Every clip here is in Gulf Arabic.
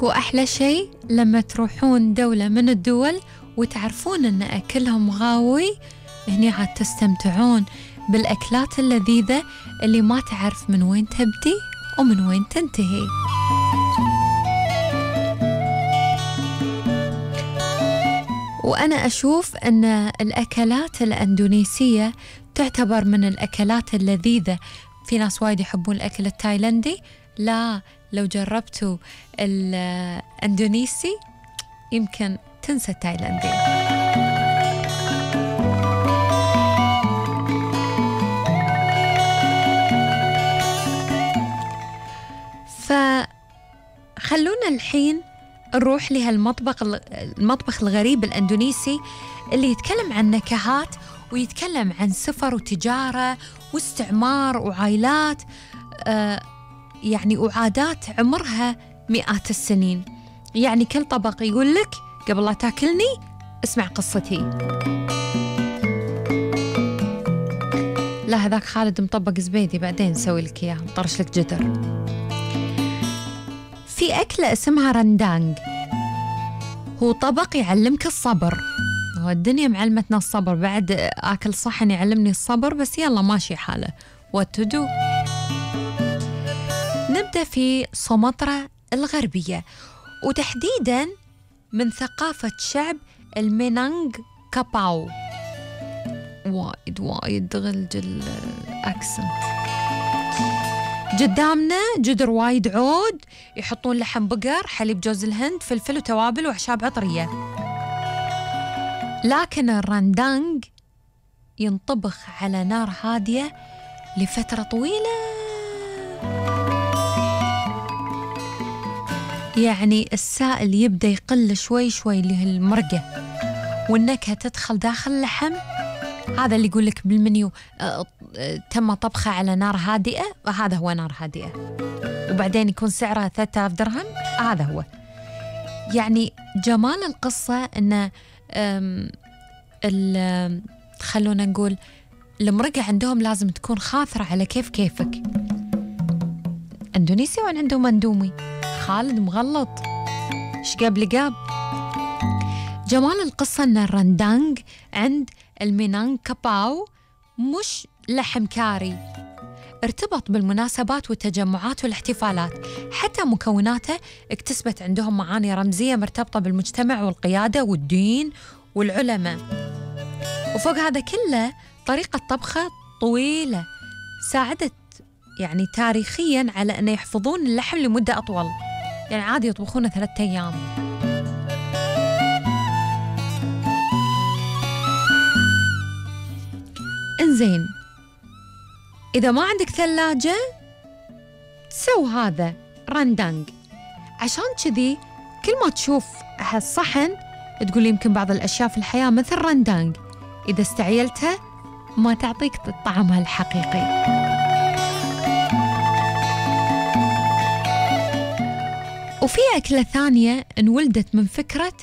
وأحلى شيء لما تروحون دولة من الدول وتعرفون أن أكلهم غاوي، هني عاد تستمتعون بالأكلات اللذيذة اللي ما تعرف من وين تبدي ومن وين تنتهي. وأنا أشوف أن الأكلات الأندونيسية تعتبر من الأكلات اللذيذة. في ناس وايد يحبون الأكل التايلندي، لا، لو جربتوا الأندونيسي يمكن تنسى التايلندي. فخلونا الحين نروح المطبخ الغريب الأندونيسي اللي يتكلم عن نكهات ويتكلم عن سفر وتجارة واستعمار وعائلات، يعني وعادات عمرها مئات السنين. يعني كل طبق يقول لك قبل لا تاكلني اسمع قصتي. لا هذاك خالد مطبق زبيدي، بعدين نسوي لك اياه، نطرش لك جدر. في أكلة اسمها رندانج، هو طبق يعلمك الصبر. والدنيا معلمتنا الصبر، بعد آكل صحن يعلمني الصبر، بس يلا ماشي حاله what to do. نبدأ في سومطرة الغربية، وتحديداً من ثقافة شعب المينانغ كاباو. وايد غلج الأكسنت. قدامنا جدر وايد عود، يحطون لحم بقر، حليب جوز الهند، فلفل وتوابل وأعشاب عطرية. لكن الرندانج ينطبخ على نار هادية لفترة طويلة، يعني السائل يبدأ يقل شوي شوي اللي هي المرقة، والنكهة تدخل داخل اللحم. هذا اللي يقول لك بالمنيو تم طبخه على نار هادئة، وهذا هو نار هادئة، وبعدين يكون سعرها 3000 درهم. هذا هو يعني جمال القصة، إن خلونا نقول المرقة عندهم لازم تكون خاثرة على كيفك. اندونيسيا وين عندهم اندومي؟ خالد مغلط، شقاب لقاب. جمال القصة ان الرندانج عند المينانغ كاباو مش لحم كاري، ارتبط بالمناسبات والتجمعات والاحتفالات، حتى مكوناته اكتسبت عندهم معاني رمزية مرتبطة بالمجتمع والقيادة والدين والعلماء. وفوق هذا كله طريقة طبخة طويلة ساعدت يعني تاريخياً على أن يحفظون اللحم لمدة أطول، يعني عادي يطبخونه 3 أيام. إنزين، إذا ما عندك ثلاجة سو هذا رندانج، عشان كذي كل ما تشوف هالصحن تقول يمكن بعض الأشياء في الحياة مثل رندانج إذا استعيلتها ما تعطيك طعمها الحقيقي. وفي أكلة ثانية انولدت من فكرة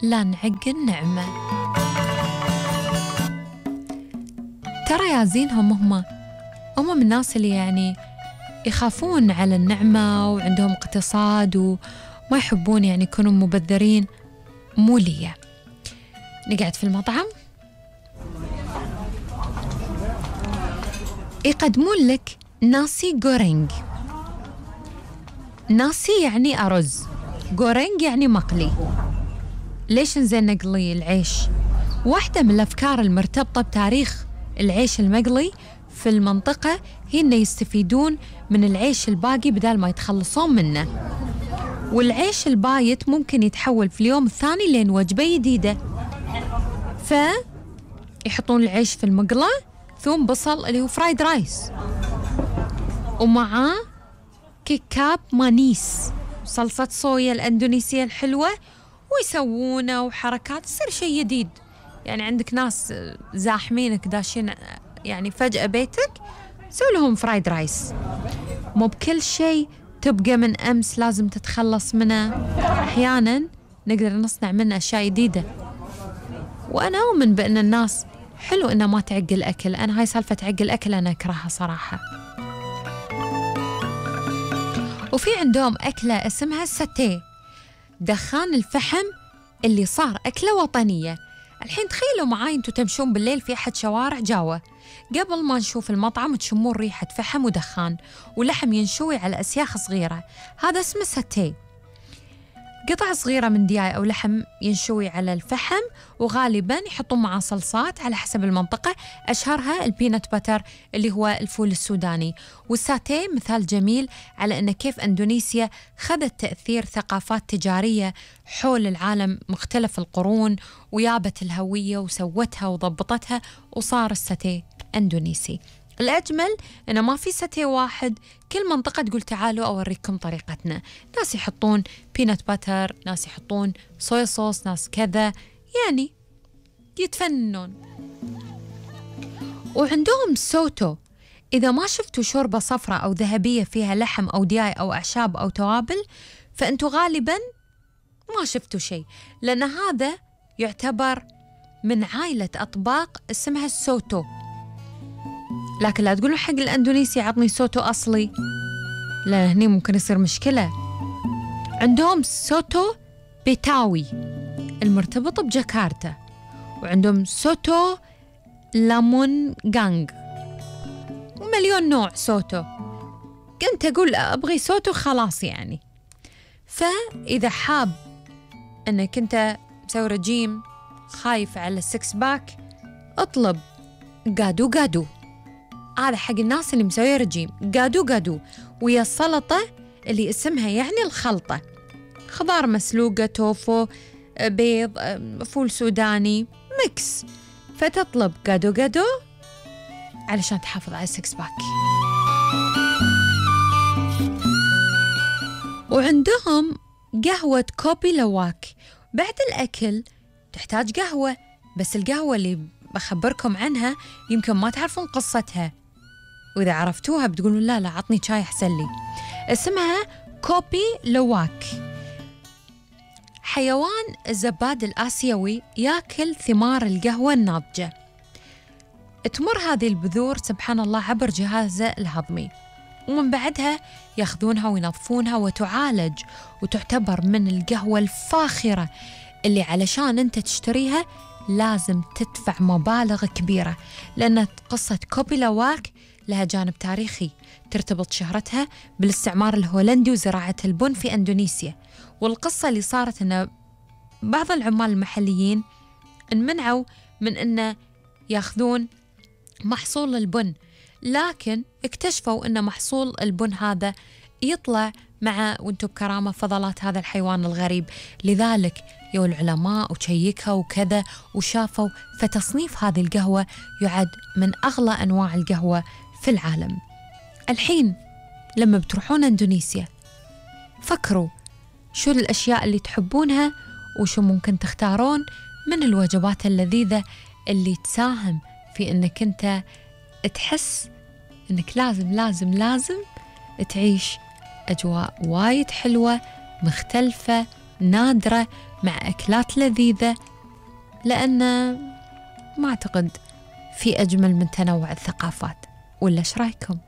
لا نعق النعمة. ترى يا زينهم هم من الناس اللي يعني يخافون على النعمة وعندهم اقتصاد وما يحبون يعني يكونوا مبذرين. مو ليا. نقعد في المطعم يقدمون لك ناسي غورينج. ناسي يعني أرز، غورينج يعني مقلي. ليش نزين نقلي العيش؟ واحدة من الأفكار المرتبطة بتاريخ العيش المقلي في المنطقة هي إنه يستفيدون من العيش الباقي بدل ما يتخلصون منه، والعيش البايت ممكن يتحول في اليوم الثاني لين وجبة جديدة. فيحطون العيش في المقلة، ثوم بصل اللي هو فرايد رايس، ومعاه كيكاب مانيس، صلصة صويا الأندونيسية الحلوة، ويسوونه وحركات، يصير شيء جديد. يعني عندك ناس زاحمينك داشين يعني فجأة بيتك، سوي لهم فرايد رايس. مو بكل شيء تبقى من أمس لازم تتخلص منه، أحياناً نقدر نصنع منه أشياء جديدة. وأنا أؤمن بأن الناس حلو إنه ما تعق الأكل. أنا هاي سالفة تعق الأكل أنا أكرهها صراحة. وفي عندهم أكلة اسمها الساتيه. دخان الفحم اللي صار أكلة وطنية. الحين تخيلوا معاي أنتوا تمشون بالليل في أحد شوارع جاوا، قبل ما نشوف المطعم تشمون ريحة فحم ودخان ولحم ينشوي على أسياخ صغيرة، هذا اسمه ساتيه. قطع صغيرة من دياي أو لحم ينشوي على الفحم، وغالباً يحطون معاه صلصات على حسب المنطقة، أشهرها البينات باتر اللي هو الفول السوداني. والساتيه مثال جميل على أن كيف أندونيسيا خذت تأثير ثقافات تجارية حول العالم مختلف القرون ويابت الهوية وسوتها وضبطتها وصار الساتيه أندونيسي. الأجمل أنه ما في ساتيه واحد، كل منطقة تقول تعالوا أوريكم طريقتنا، ناس يحطون بينات باتر، ناس يحطون صويا صوص، ناس كذا، يعني يتفننون. وعندهم سوتو، إذا ما شفتوا شوربة صفراء أو ذهبية فيها لحم أو دياي أو أعشاب أو توابل فأنتوا غالباً ما شفتوا شيء، لأن هذا يعتبر من عائلة أطباق اسمها السوتو. لكن لا تقولوا حق الأندونيسي عطني سوتو أصلي، لأن هني ممكن يصير مشكلة. عندهم سوتو بيتاوي المرتبط بجاكرتا، وعندهم سوتو لامون غانغ، ومليون نوع سوتو. كنت أقول أبغي سوتو خلاص يعني. فإذا حاب أنك أنت مسوي رجيم خايف على السكس باك، اطلب قادو قادو، هذا حق الناس اللي مسويه رجيم. قادو قادو ويا السلطة اللي اسمها يعني الخلطة، خضار مسلوقة، توفو، بيض، فول سوداني، ميكس. فتطلب قادو قادو علشان تحافظ على السكس باك. وعندهم قهوة كوبي لواك. بعد الأكل تحتاج قهوة، بس القهوة اللي بخبركم عنها يمكن ما تعرفون قصتها، وإذا عرفتوها بتقولون لا عطني شاي أحسن لي. اسمها كوبي لواك. حيوان الزباد الآسيوي يأكل ثمار القهوة الناضجة. تمر هذه البذور سبحان الله عبر جهازه الهضمي، ومن بعدها ياخذونها وينظفونها وتعالج، وتعتبر من القهوة الفاخرة اللي علشان أنت تشتريها لازم تدفع مبالغ كبيرة، لأن قصة كوبي لواك لها جانب تاريخي ترتبط شهرتها بالاستعمار الهولندي وزراعة البن في أندونيسيا. والقصة اللي صارت أن بعض العمال المحليين انمنعوا من أن ياخذون محصول البن، لكن اكتشفوا أن محصول البن هذا يطلع مع وانتو بكرامة فضلات هذا الحيوان الغريب، لذلك يو العلماء وشيكها وكذا وشافوا، فتصنيف هذه القهوة يعد من أغلى أنواع القهوة في العالم. الحين لما بتروحون أندونيسيا فكروا شو الأشياء اللي تحبونها وشو ممكن تختارون من الوجبات اللذيذة اللي تساهم في أنك أنت تحس أنك لازم تعيش أجواء وايد حلوة مختلفة نادرة مع أكلات لذيذة، لأن ما أعتقد في أجمل من تنوع الثقافات. ولا إيش رأيكم؟